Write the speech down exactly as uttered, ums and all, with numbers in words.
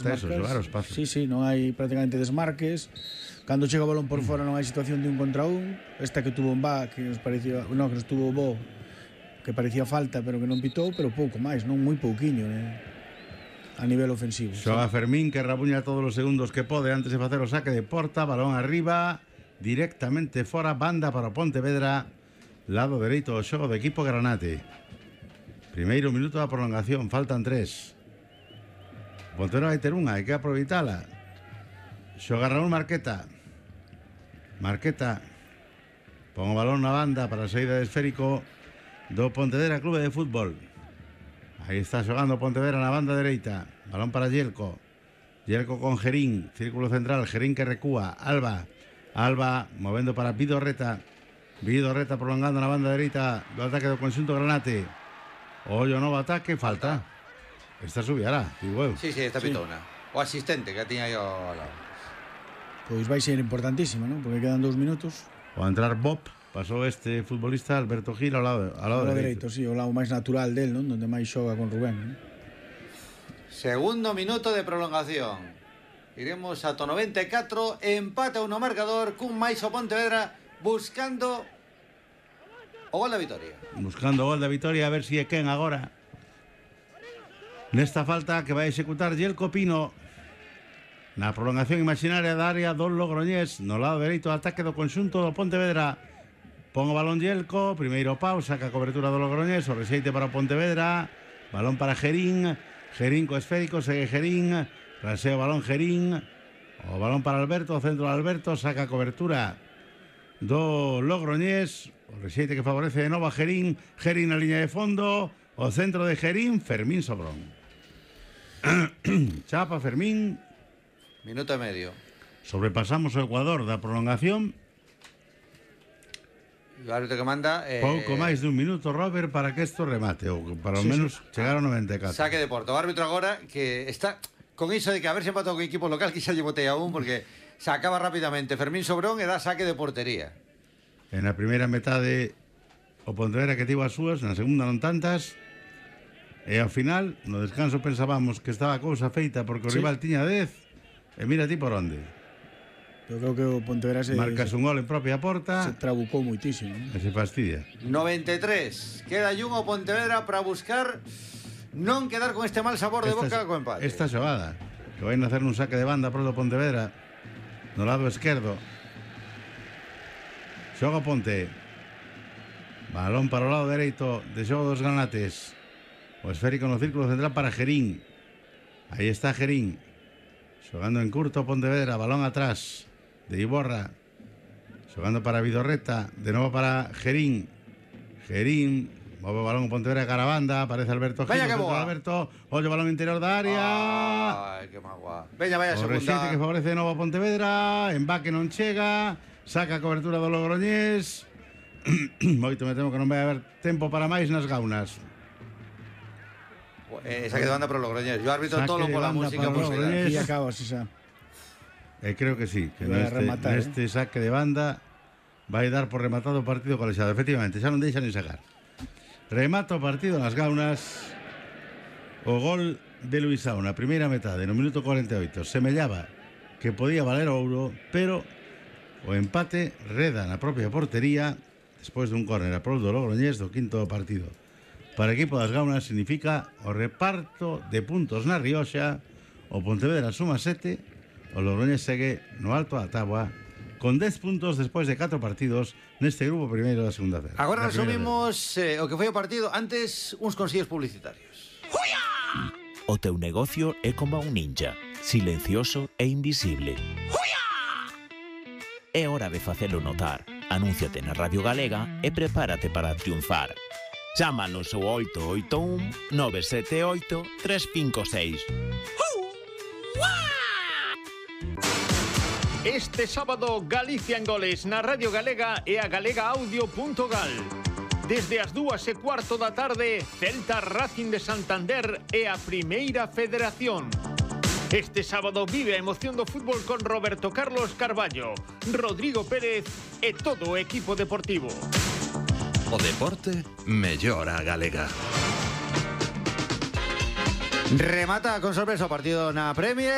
Eso, xogar os pasos. Sí, sí, non hai prácticamente desmarques. Cando chega o balón por fora non hai situación de un contra un. Esta que tuvo un va, que nos parecía, no, que nos tuvo bo, que parecía falta, pero que non pitou, pero pouco máis, non moi pouquiño, eh, a nivel ofensivo. Xoga sí. Fermín, que rabuña todos os segundos que pode antes de facer o saque de porta, balón arriba, directamente fora, banda para Pontevedra, lado dereito do xogo do equipo granate. Primeiro minuto da prolongación, faltan tres. Pontevedra vai ter unha, hai que aproveitala. Xoga Raúl Marqueta. Marqueta pon o balón na banda para a saída de esférico do Pontevedra Clube de Fútbol. Aí está xogando Pontevedra na banda dereita. Balón para Yelko. Yelko con Gerín, círculo central, Gerín que recúa. Alba, Alba movendo para Vidorreta. Vidorreta prolongando na banda dereita do ataque do conxunto granate. Ollo novo ataque, falta. Esta subiará, digo eu. Sí, sí, esta pitona. Sí. O asistente que tiña aí ao lado. Pois vai ser importantísimo, ¿no? Porque quedan dous minutos. O entrar Bob, pasou este futbolista Alberto Gil ao lado, ao lado, ao lado dereito. dereito. Sí, o lado máis natural del, ¿no? Donde máis xoga con Rubén, ¿no? Segundo minuto de prolongación. Iremos ata noventa e catro, empate no marcador, cun máis o Pontevedra buscando o gol da vitoria. Buscando o gol da vitoria, a ver se si é quen agora. Nesta falta que vai executar Yelko Pino na prolongación imaginaria da área do Logroñés, no lado dereito do ataque do conxunto do Pontevedra. Pon o balón Yelko, primeiro pau, saca a cobertura do Logroñés, o rexeite para o Pontevedra, balón para Gerín, Gerín co esférico, segue Gerín, rasea o balón Gerín, o balón para Alberto, o centro de Alberto, saca a cobertura do Logroñés, o rexeite que favorece de novo a Gerín, Gerín na liña de fondo, o centro de Gerín, Fermín Sobrón. Chapa Fermín. Minuto e medio. Sobrepasamos o Ecuador da prolongación. O árbitro que manda eh... pouco máis de un minuto, Robert, para que isto remate, ou para ao sí, menos sí. chegar ao noventa e catro. Saque de porta. O árbitro agora que está con iso de que a ver se empatou con equipo local, que xa lle botei a un, porque sacaba rapidamente Fermín Sobrón e dá saque de portería. En a primeira metade o Pontevedra que tivo as súas, na segunda non tantas. E ao final, no descanso pensábamos que estaba a cousa feita porque o sí. rival tiña dez. E mira ti por onde. Eu creo que o Pontevedra se... Marcas un gol en propia porta. Se trabucou moitísimo, ¿no? E se fastidia. noventa e tres. Queda un o Pontevedra para buscar non quedar con este mal sabor de esta, boca co empate. Esta xogada, que vai nacer un saque de banda pro do Pontevedra, no lado esquerdo. Xoga Ponte. Balón para o lado dereito de xogo dos granates. O esférico no círculo central para Gerín. Aí está Gerín. Xogando en curto Pontevedra, balón atrás de Iborra. Xogando para Vidorreta, de novo para Gerín. Gerín, move o balón Pontevedra cara a banda, aparece Alberto Gil. Vaya que boa. Alberto, ollo balón interior da área. Ai, que magua. Veña, vaya o segunda. O rexeite que favorece de novo a Pontevedra, embaque non chega, saca a cobertura do Logroñés. Moito me temo que non vai haber tempo para máis nas gaunas. Eh, saque de banda para o Logroñés. Yo árbitro todo pola música posible. E acaba así xa. Eh, creo que sí, que neste, rematar, neste eh? saque de banda vai dar por rematado o partido colexiado. Efectivamente, xa non deixa ni sacar. Remata o partido nas gaunas. O gol de Luisao na primeira metade, no minuto cuarenta e oito. Semellaba que podía valer ouro, pero o empate reda na propia portería despois dun córner a prol do Logroñés do quinto partido. Para o equipo das gaunas significa o reparto de puntos na Rioxa. O Pontevedra suma sete, o Logroñés segue no alto da táboa con dez puntos despois de catro partidos neste grupo primeiro da segunda feira. Agora resumimos eh, o que foi o partido. Antes, uns consellos publicitarios. ¡Juya! O teu negocio é como un ninja, silencioso e invisible. ¡Juya! É hora de facelo notar. Anúnciate na Radio Galega e prepárate para triunfar. Chámanos ao oito oito un nove sete oito tres cinco seis. Este sábado, Galicia en goles na Radio Galega e a galega audio punto gal. Desde as dúas e cuarto da tarde, Celta Racing de Santander e a Primeira Federación. Este sábado vive a emoción do fútbol con Roberto Carlos Carballo, Rodrigo Pérez e todo o equipo deportivo. O deporte mellora a galega. Remata con sorpresa o partido na Premier.